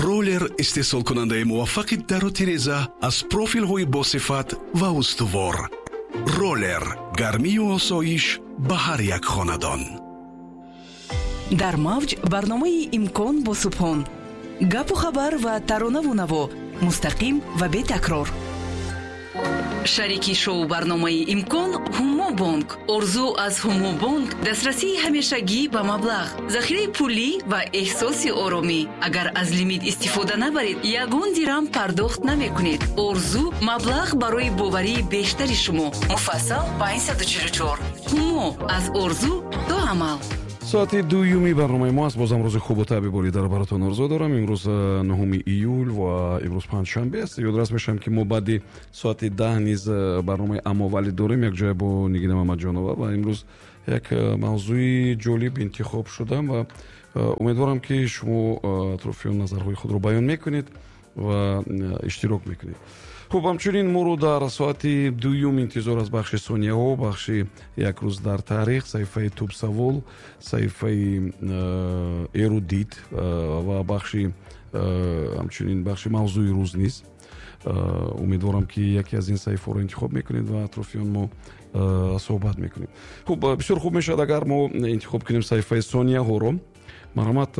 Ролер, истеҳсолкунандаи муваффақи дару тиреза аз профилҳои босифат ва устувор. Ролер, гармию осоиш ба ҳар як хонадон. Дар мавҷ барномаи «Имкон» бо Субҳон. Гапу хабар ва таронаву наво мустақим ва бетакрор. Шарики шоу барномаи «Имкон» «Ҳумо бонк». Орзу аз «Ҳумо бонк» дастрасии ҳамешагӣ ба маблағ, захираи пулӣ ва эҳсоси оромӣ. Агар аз лимит истифода набаред, ягон дирам пардохт намекунед. Орзу маблағ барои боварии бештари шумо. Муфассал 544. «Ҳумо» аз орзу то амал. Соати дуюми барномаи мо аст. Бозам рӯзи хубу табъи болидаро баротон орзу дорам. Имрӯз 9 июл ва имрӯз панҷшанбе аст. Ёдрас мешавам, ки мо баъди соати 10 низ барномаи «Аммовалӣ» дорем якҷоя бо Нигина Мамаҷонова ва имрӯз як мавзӯи ҷолиб интихоб шудам ва умедворам, ки шумо атрофи он назарҳои худро баён мекунед ва иштирок мекунед. Хуб, ҳамчунин моро дар соати дуюм интизор аз бахши сонияҳо, бахши «Як рӯз дар таърих», саҳифаи «Тубсавол», саҳифаи «Эрудит» ва бахши ҳамчунин бахши «Мавзӯи рӯз» низ. Умедворам, ки яке аз ин саҳифаҳоро интихоб мекунед ва атрофи он мо суҳбат мекунем. Хуб, бисёр хуб мешавад, агар мо интихоб кунем саҳифаи сонияҳоро. Марҳамат,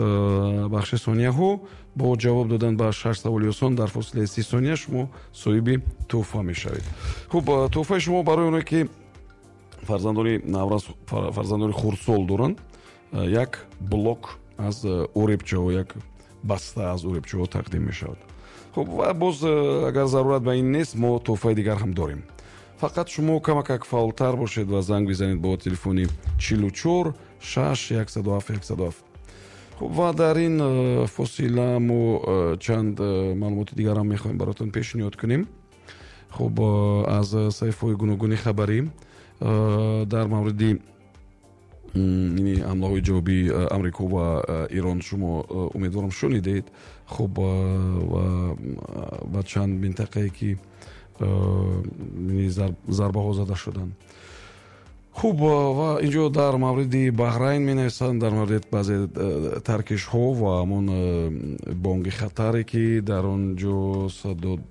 бахши сонияҳо. Бо ҷавоб додан ба шаш саволи осон дар фосилаи 30 сония шумо соҳиби тӯҳфа мешавед. Хуб, тӯҳфаи шумо барои оне, ки фарзандони наврас, фарзандони хурдсол доранд, як блок аз оребчаҳо, як баста аз оребчаҳо тақдим мешавад. Хуб, ва боз, агар зарурат ба ин нест, мо тӯҳфаи дигар ҳам дорем. Фақат шумо камакак фаъолтар бошед ва занг бизанед бо телефони 44 6 107 107. Хуб, ва дар ин фосила мо чанд маълумоти дигарам мехоҳем баротон пешниҳод кунем. Хуб, аз саҳифаҳои гуногуни хабарӣ дар мавриди ҳамлаҳои ҷавобии Амрико ва Ирон шумо, умедворам, шунидед. Хуб, ва чанд минтақае, ки зарбаҳо зада шуданд. Хуб, ва инҷо дар мавриди Баҳрайн менависанд, дар мавриди баъзе таркишҳо ва ҳамон бонги хатаре, ки дар он ҷо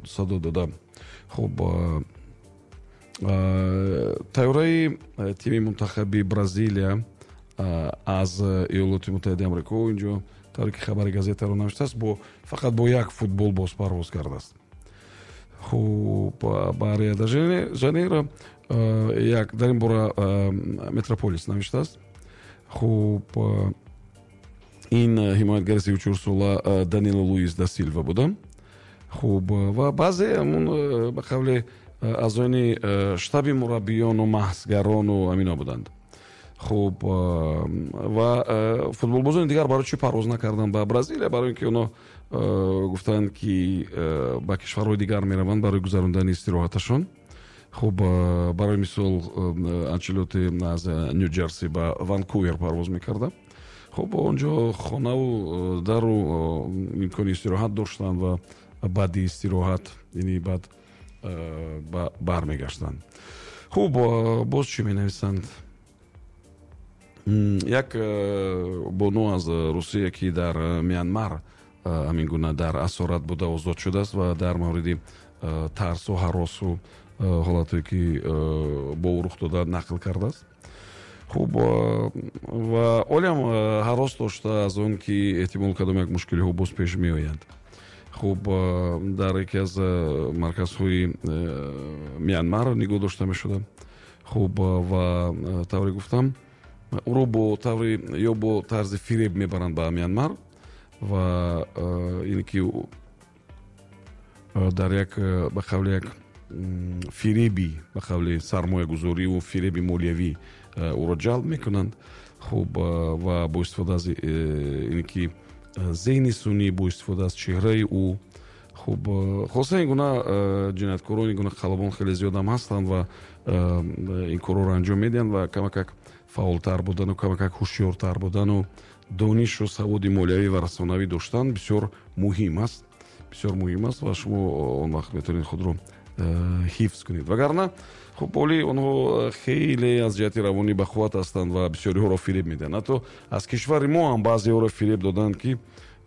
садо дода. Хуб, тайёраи тими мунтахаби Бразилия аз Иёлоти Муттаҳидаи Амрико, инҷо тавре ки хабари газетаро навиштааст, бо фақат бо як футболбоз парвоз кардааст. Хуб, ба Рио де Жанейро. Як дар ин бора Метрополис навиштааст. Хуб, ин ҳимоятгари 34-сола Данило Луис да Силва буда. Хуб, ва баъзе ҳамун, ба қавле, аъзоёни штаби мураббиёну маҳзгарону амино буданд. Хуб, ва футболбозони дигар барои чӣ парвоз накарданд ба Бразилия? Барои ин ки онҳо гуфтанд, ки ба кишварҳои дигар мераванд барои гузарондани истироҳаташон. Хуб, барои мисол, Анчелоти аз Ню Ҷерси ба Ванкувер парвоз мекарда. Хуб, он ҷо хонаву дару имкони истироҳат доштанд ва баъди истироҳат, яъне баъд, бармегаштанд. Хуб, боз чӣ менависанд? Як бону аз Русия, ки дар Мянмар ҳамин гуна дар асорат буда, озод шудааст ва дар мавриди тарсу ҳаросу ҳолатое, ки бо ӯ рух дода, нақл кардааст. Хуб, ва ҳолиам ҳарос дошта аз он, ки эҳтимол кадом як мушкилиҳо боз пеш меоянд. Хуб, дар яке аз марказҳои Мянмар нигоҳ дошта мешуда. Хуб, ва тавре гуфтам, ӯро бо таври ё бо тарзи фиреб мебаранд ба Мянмар ва ин ки дар як, ба қавли, як фиреби, ба қавли, сармоягузориву фиреби молиявӣ ӯро ҷалб мекунанд. Хуб, ва бо истифода аз ин ки зеҳни сунъӣ, бо истифода аз чеҳраи ӯ. Хуб, хулоса, ин гуна ҷинояткорон, ин гуна қаллобон хеле зиёдам ҳастанд ва ин корҳоро анҷом медиҳанд. Ва камакак фаъолтар будану камакак ҳушёртар будану донишу саводи молиявӣ ва расонавӣ доштан бисёр муҳим аст, бисёр муҳим аст ва шумо он вақт метавонед худро ҳифз кунед. Вагарна, хуб, оли онҳо хеле аз ҷиҳати равонӣ бақувват ҳастанд ва бисёриҳоро фиреб медиҳанд. Ҳатто аз кишвари мо ҳам баъзеҳоро фиреб доданд, ки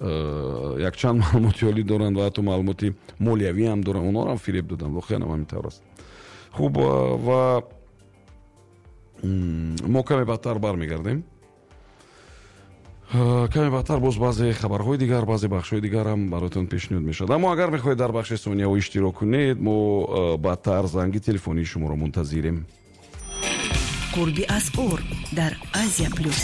Якчанд маълумоти олӣ доранд ва ҳатто маълумоти молиявӣ ҳам доранд, онҳоро ҳам фиреб доданд. Воқеан ҳам ҳамин тавр аст. Хуб, ва мо каме баъдтар бармегардем. Каме баъдтар боз баъзе хабарҳои дигар, баъзе бахшҳои дигар ҳам бароятон пешниҳод мешавад. Аммо агар мехоҳед дар бахши сонияҳо иштирок кунед, мо баъдтар занги телефонии шуморо мунтазирем. Қурби асъор дар Азия Плюс.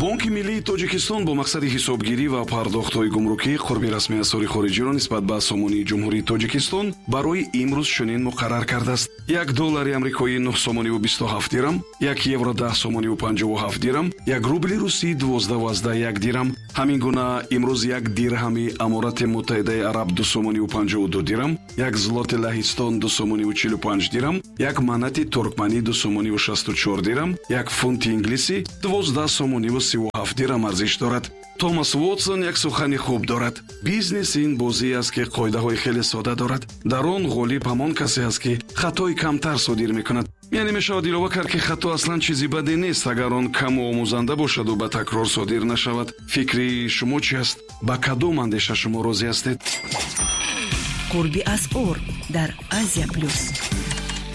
Бонки миллии Тоҷикистон бо мақсади ҳисобгирӣ ва пардохтҳои гумрукӣ қурби расмии асъори хориҷиро нисбат ба сомонии Ҷумҳурии Тоҷикистон барои имрӯз чунин муқаррар кардааст: 1 доллари амрикоӣ 9 сомониву 27 дирам, 1 евро 10 сомониву 57 дирам, 1 рубли русӣ 12,1 дирам. Ҳамин гуна имрӯз 1 дирҳами Аморати Муттаҳидаи Араб 2 сомониву 52 дирам, 1 злоти Лаҳистон 2 сомониву 45 дирам, 1 манати туркманӣ 2 сомониву 64 дирам, 1 фунти инглисӣ 12 сомониву 37 дирам арзиш дорад. Томас Вотсон як сухани хуб дорад: «Бизнес ин бозӣ аст, ки қоидаҳои хеле сода дорад. Дар он ғолиб ҳамон касе аст, ки хатои камтар содир мекунад». Яъне мешавад илова кард, ки хато аслан чизи баде нест, агар он каму омӯзанда бошаду ба такрор содир нашавад. Фикри шумо чи аст? Ба кадом андеша шумо розӣ ҳастед? Қурби асъор дар Азия Плюс.